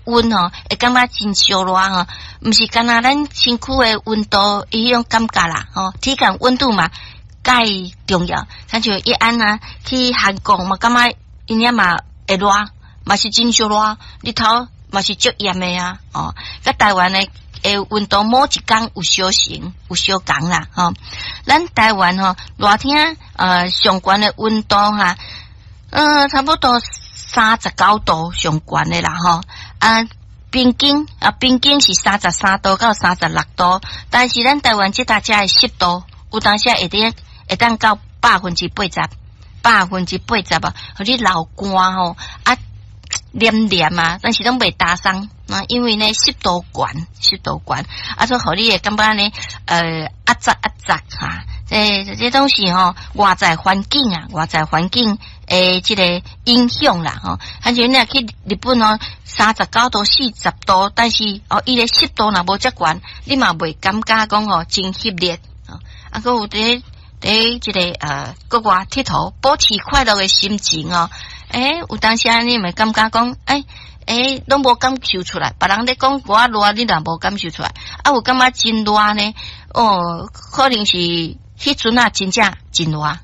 溫吼，會感覺真燒熱吼，毋是干焦咱身軀的溫度彼種感覺啦，吼，體感溫度嘛，蓋重要。親像伊按啊去韓國嘛，感覺𪜶遐嘛會熱，嘛是真燒熱，日頭嘛是足炎的啊，哦，佮台灣的溫度某一工有相成，有相仝啦，吼。咱台灣吼熱天上懸的溫度哈，差不多39度上懸的啦，吼。啊，平均啊，平均是33度到36度，但是咱台灣這搭遮的濕度有當時會當會當到80%，80%啊，予你流汗吼啊，黏黏啊，但是攏袂焦鬆啊，因為呢濕度懸，濕度懸，啊，所以予你會感覺呢，壓雜壓雜哈，這這東西吼，外在環境啊，外在環境的這個影響啦，吼，親像你若去日本哦，39度、40度，但是哦，伊的濕度若無遮懸，你嘛袂感覺講吼真翕熱，啊，閣有佇佇這個國外𨑨迌，保持快樂的心情哦。欸，有當時你會感覺講，欸欸，攏無感受出來，別人咧講我熱，你若無感受出來，啊，有感覺真熱呢？哦，可能是彼陣啊，真正真熱。